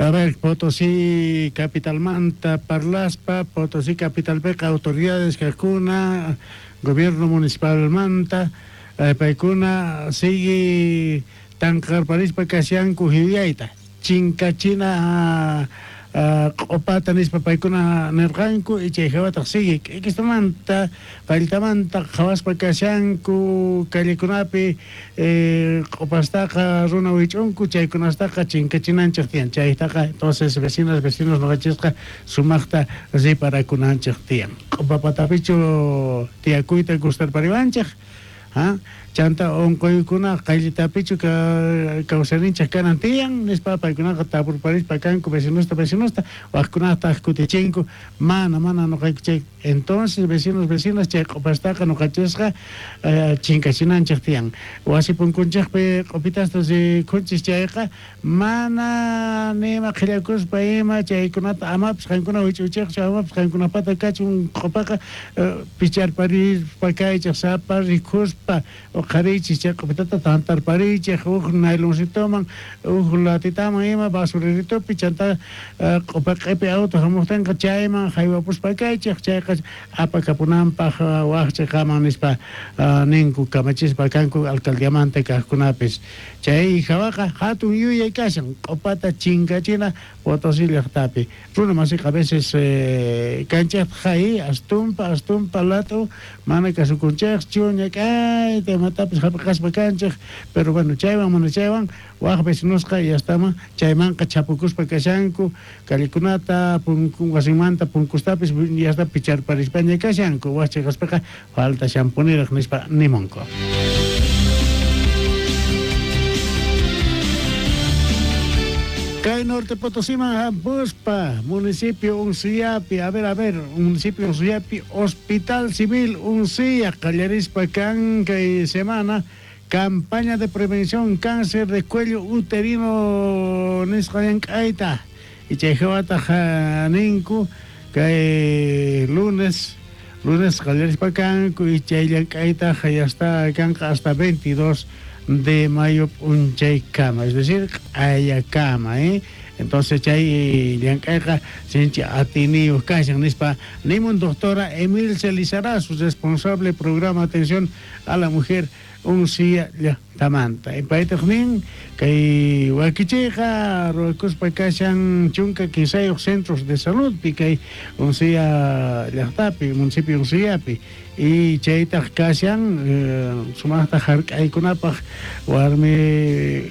A ver, Potosí capitalmanta parlaspa, Potosí capitalpiqa autoridades kajkuna, gobierno municipalmanta, paykuna sigue tanqarparispa kashanku yuyayta, chinkachina q'opata nispa paykuna nerqanku, y chay jawataq sigue k'ikistamanta, palltamanta qhawaspa kashanku callekunapi q'opastaqa runa wich'unku, chaykunastaqa chinkachinanchej tiyan, chaytaqa entonces vecinas, vecinos noqanchisqa sumaqta riparakunanchej tiyan. Q'opa patapichu tiyakuyta gustarpariwanchej? Ha? Chanta onqoykuna qayllitapichu kawsayninchej kanan tiyan? Nispa paykunaqa tapurparispa kanku vecinosta, vecinosta, wajkunataq kutichinku, mana, mana noqayku chay. Entonces vecinos, vecinas chay q'opastaqa noqanchisqa chinkachinanchej tiyan. Wasi punkunchejpi q'opitasta rikhunchis chayqa, mana ni ima qhellakuspa ima chaykunata amapis qankuna wich'uychejchu, amapis qankunapata kachun q'opaqa picharparispa kaychej, sapa rikhuspa oqhariychis chay q'opitata tantarpariychej uj nayloncitoman, uj latitaman ima basureritopi, chantá q'opa q'epi auto jamojtenqa chayman jaywapuspa kaychej, chayqa apakapunanpaj waj cheqaman nispa ninku kamachispa kanku alcaldiamanta kajkunapis. Chay jawaqa jatun yuyay kashan, q'opata chinkachina Potosí llajtapi. Runa masiqa a veces kanchejtaj jay, astumpa, astumpa lat'u, mana kasukunchejchu, ñak'ayta imatapis jap'iqaspa kanchej, pero bueno, chaywan mana chaywan waj vecinosqa yastaman chaymanqa chhapukuspa kashanku, callekunata, punku, wasinmanta punkustapis yasta picharparispaña kashanku, waj cheqaspeqa faltashanpuniraj nispa nimunku. Kay Norte Potosíman hampuspa, municipio Unciapi, a ver, a ver, municipio Unciapi, Hospital Civil Uncia qallarispa kan kay semana campaña de prevención cáncer de cuello uterino nisqa llank'ayta. Y chay jawataq ninku kay lunes, lunes qallarispa kanku y chay llank'aytaq ya está kanqa hasta 22 de mayo p'unchaykama, es decir, q'ayakama, ¿eh? Entonces chay llank'ayqa sinchi atiyniyuq kashan nispa nimun doctora Emilce Lizarazu, responsable programa atención a la mujer Uncia llajtamanta. Paytaj nin, kay wakichiyqa ruwakuspa kashan 13 centros de saludpi kay Uncia llajtapi, municipio Unciapi, y chaytaj kashan sumajta jark'aykunapaj warmi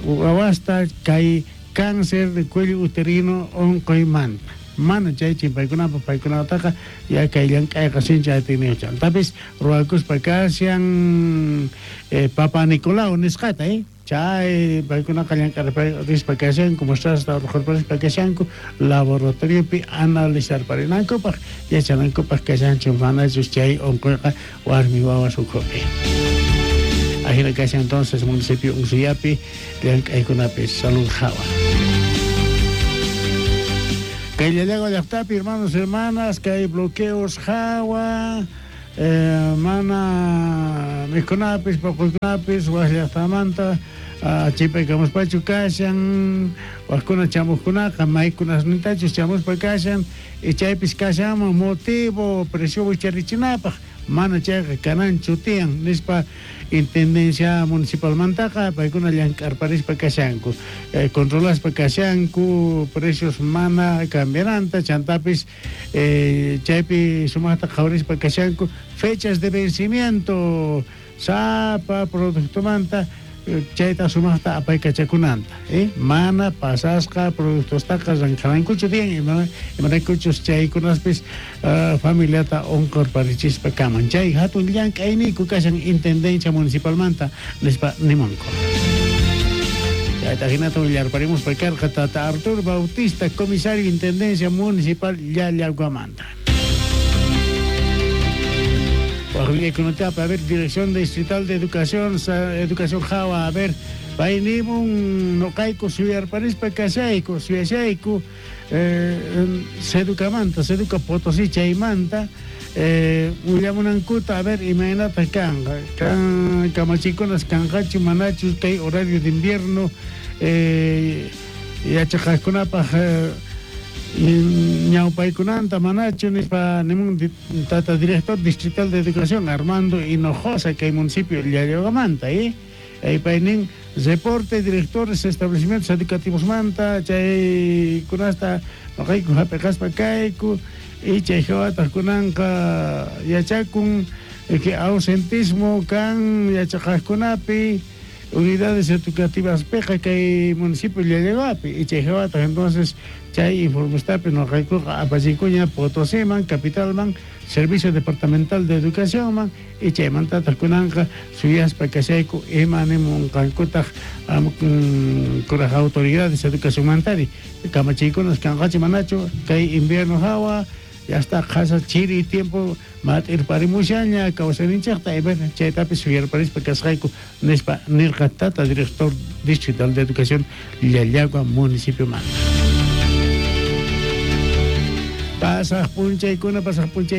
wawasta kay cáncer de cuello uterino onqoymanta. Mana chay chimpaykunapaj paykunataqa ya kay llank'ayqa sinchi atiyniyuq. Chantapis ruwakuspa kashan Papa Nicolau nisqata, chay paykunaqa llank'arparispa kashanku, muestrasta orqhorparispa kashanku laboratoriopi analizarparinankupaj, yachanankupaj kashanchu manachus chay onqoyqa warmi wawas ukhupi. Ajina kashan entonces municipio Unciapi llank'aykunapi salud jawa. Kay Llallagua llajtapi, hermanos, hermanas, kay bloqueos jawa, mana mikhunapis, poqoykunapis waj llajtamanta chipaykamuspachu kashan, wajkuna chamojkunaqa maykunasnintachus chamuspa kashan, y chaypis kashanman motivo precio wicharichinapaj, mana chayqa kananchu tiyan nispa intendencia municipalmantaqa paykuna llank'arparispa kashanku, controlaspa kashanku precios mana cambiananta, chantapis chaypi sumajta qhawarispa kashanku fechas de vencimiento sapa productomanta chayta sumajta apaykachakunanta, mana pasasqa productostaqa ranqharankuchu tiyan, imaraykuchus chaykunaspis familiata onqorparichispa kaman. Chay hatun llank'ayniyku kashan intendencia municipalmanta nispa nimunku. Chayta hinata willarparimuspa karqa tata Arturo Bautista, comisario intendencia municipal Llallaguamanta. Wajuyaykunatapa, a ver, Dirección Distrital de Educación, Educación Jawa, a ver, pay nimun noqayku suyarparispa kashayku, suyashayku, Seducamanta, Seduca Potosí chaymanta, willamunankuta, a ver, imaynataq kanqa, kan kamachikunas kanqachu, manachu kay horario de invierno. Yachaqajkunapaj ñawpaykunanta manachu nispa nimun tata director distrital de educación Armando Hinojosa kay municipio Llallaguamanta pay nin reporte directores establecimientos educativosmanta chaykunasta noqayku hap'iqaspa kayku y chay jawataq kunanqa yachakun que ausentismo kan yachaqajkunapi unidades educativas piqa kay municipio Llallaguapi y chay jawataq entonces chay informestapi noqaykuqa apachikuña Potosíman, capitalman, Servicio Departamental de Educacionman y chaymantataq kunanqa suyaspa kashayku ima nimunqankutaq kuraj autoridades educacionmantari kamachiykunas kanqachu manachu kay invierno hawa ya está qhasa chiri tiempo mat'irparimushaña kawsayninchikta y bueno chaytapis suyarparispa kasqayku nispa nirqa tata director distrital de educación Llallagua municipiomanta. Pasaq p'unchaykuna, pasaq p'unchay.